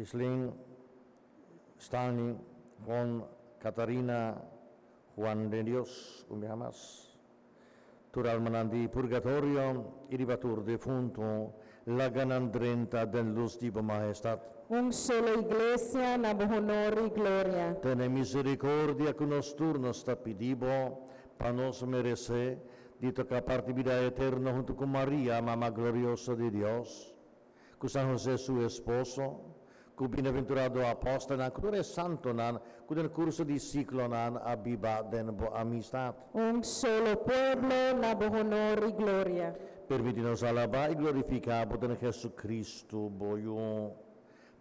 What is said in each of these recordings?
Gislin, Stanley, Juan, Catarina, Juan de Dios, un biaha mas. Tur almanan di purgatorio i riba tur defuntu, laga nan drenta den lus di bo Mahestat. Un solo Iglesia na bo honor i gloria. Tene misericordia ku nos tur, nos ta pidi bo, pa nos meresé di toka parti bida eterno huntu ku Maria, Mama glorioso di Dios, ku San Hosé su esposo, ku bienaventurado apòstelnan, ku tur e santonan ku den kurso di siklonan a biba den bo amistat. Un solo pueblo na bo honor i gloria. Permití nos alabá i glorifiká bo den Jesucristo, bo Yu.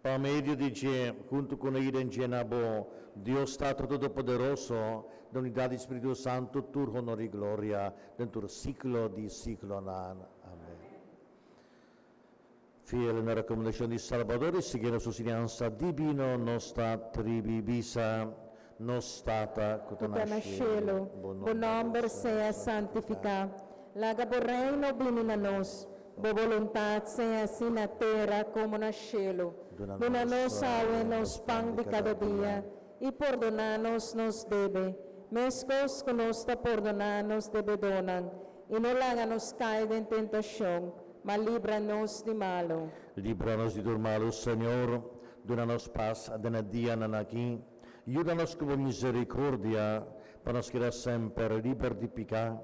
Pa medio di dje, huntu kuné i den dje na bo, Dios Tata Todopoderoso, den unidat di Spiritu Santu, tur honor i gloria den tur siklo di siklonan. Amèn. Fiel na rekomendashon di Salbador i siguiendo su siñansa dibino, nos ta tribi bisa, Nos Tata ku ta na shelu, bo nòmber sea santifiká. Laga bo Reino bini na nos. Bo boluntat sea hasi na tera komo na shelu. Duna nos awe nos pan di kada dia, i pordoná nos nos debe, meskos ku nos ta pordoná nos debedónan. I no laga nos kai den tentashon, ma libra nos di malu. Libra nos di tur malu, Señor. Duna nos pas den e dianan aki. Yuda nos ku bo misericordia, pa nos keda semper liber di piká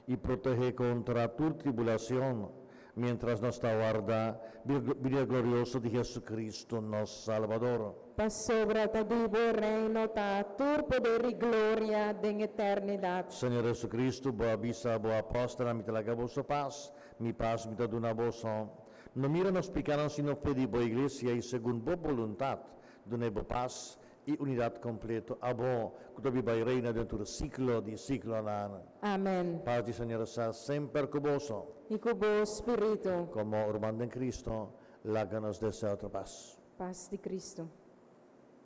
i protehé kontra tur tribulacion, miéntras nos ta warda binida glorioso di Jesucristo, nos Salbador. Pasobra ta di bo reino ta tur poder i gloria den eternidat. Señor Jesucristo, bo a bisa bo apòstelnan, Mi ta laga boso pas, mi pas mi ta duna boso. No mira nos pikánan sino fe di bo iglesia i segun bo boluntat dun'é bo pas i unidat kompleto. Abo ku ta biba i reina den tur siklo di siklonan. Amèn. Pas di Señor sa semper ku boso. I ku bo spiritu. Komo ruman den Cristo, laga nos desea otro pas. Pas di Cristo.